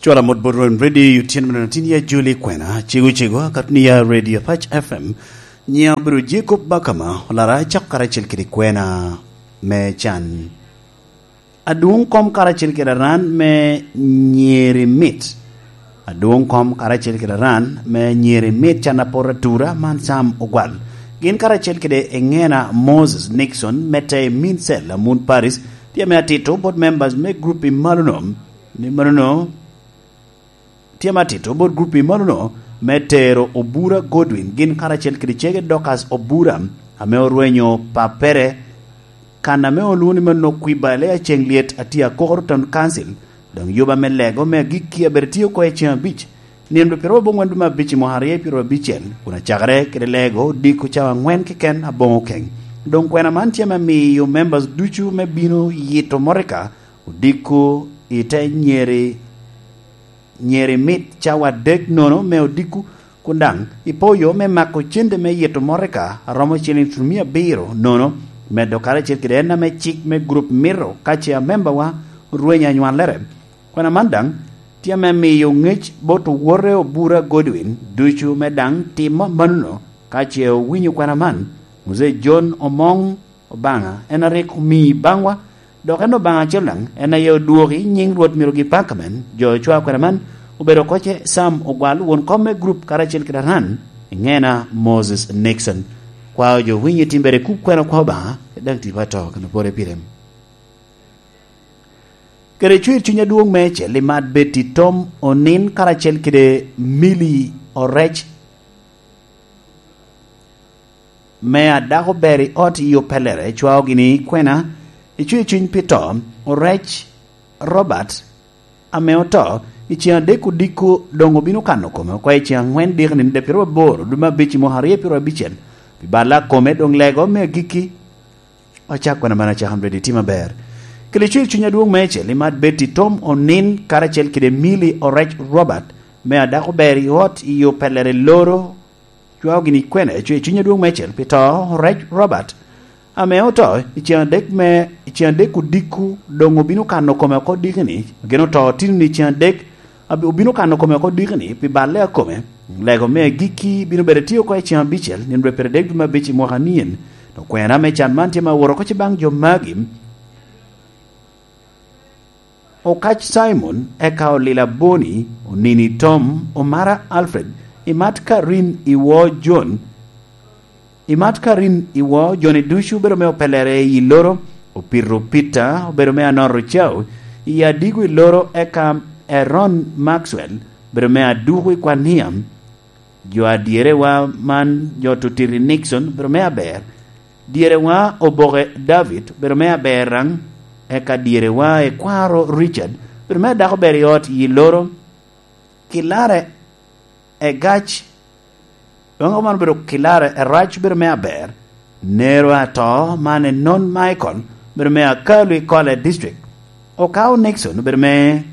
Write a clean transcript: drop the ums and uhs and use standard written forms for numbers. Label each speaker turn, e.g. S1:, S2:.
S1: Cwala mot bot Ron Radio tyen meno tin ya Julie Kwena cego cego akato ni ya Radio Apac FM nyinga obedo Jacob Bakama olara acako karacel kede kwena me can Adwong kom karacel kede aran me nyeri mit Adwong kom karacel kede aran me nyeri mit can apoto atura man Sam Ogwal gin karacel kede Engena Moses Nixon me te Min Cell Amun Paris tye me atito bot members me group i malo no ni meno no tye me atito bot group i malo no me tero Obura Godwin gin karacel kede cege Dorcas Obura ame orwenyo papere Kana me olwongo ni meno kwiba le aceng lyet atye akokoro town council dong yuba me lego me agikki abedo tiyo ko eceng abic nino dwe pyeraboro bongwen dwe me abic i mwaka arye pyeraryo abicel kun acakere kede lego odiko cawa angwen keken abongo keng dong kwena man tye me miyo members ducu me bino yito motika odiko ite nyeri Nyeri mit cawa adek nono me odiko kun dang ipo yo me mako cente me yito motika romo ciling cumiya abiro nono medo karacel kede en ame cik me gurup mito kace amemba wa orwenyo anywalere. Kwena man dang tye me miyo ngec bot owote Obura Godwin ducu me dang timo manono kace owinyo kwena man. Muzee John Omong Obanga en arik omiyi bangwa Dok en Lubanga acel dang, en aye odwoki nying Rwot myero gipak. Amen. Jo cwa kwena man obedo koce Sam Ogwal, won kom me gurup karacel ki Daran ingena Moses Nixon. Kwayo jo winyo tim bene kub kwena kwa Obanga dang tipo ato kendo pore pire. Kede cwer cwiny adwong me cel i mat Betty Tom Onin karacel kede Millie Orec. Me a dako ber i ot i opelere cwao gini kwena i cwer cwiny pi to orec Robert ame oto i ceng adek odiko dong obino kano kome oko i ceng angwen diki nino pyeraryo aboro dwe me abic i mwaka aryo pyeraryo abicel pi balla kome dong lego me agikki Wacak kwena man acaka mredi tye maber. Kelo cwer cwiny adwong me cel i mat Betty Tom Onin karacel kede Millie Orec Robert me a dako ber i ot i opelere loro Cwao gin i kwene cwer cwiny adwong me cel pi to Rec Robert ame oto i ceng adek me i ceng adek odiko dong obino kano kome oko diki-ni gin oto tino-ni i ceng adek obino kano kome oko diki-ni pi balle akome lego me agikki bino bedo tye oko i ceng abicel nino dwe pyeradek dwe me abic i mwaka niyen to kwena me can man tye ma owoto oko ci bang jo magi Okac Cimon, eka olila Boni, onini Tom, omara Alfred, imat Karin iwor Jon, imat Karin iwor joni ducu obedo me opelere i loro, opito Peter obedo me anoro Cau i adigo i loro eka Eron Maxwell obedo me aduku i Kwania, jo adyerewa man jo Tutiri Nixon obedo me aber. Dyerewa oboke David obedo me aber rang, eka dyerewa ekwaro Richard obedo me adako ber i ot yi loro, Kilare egac dong man obedo Kilare erac obedo me aber, Nero ato man enon Michael obedo me akalu i Kole district, Okao Nixon obedo me.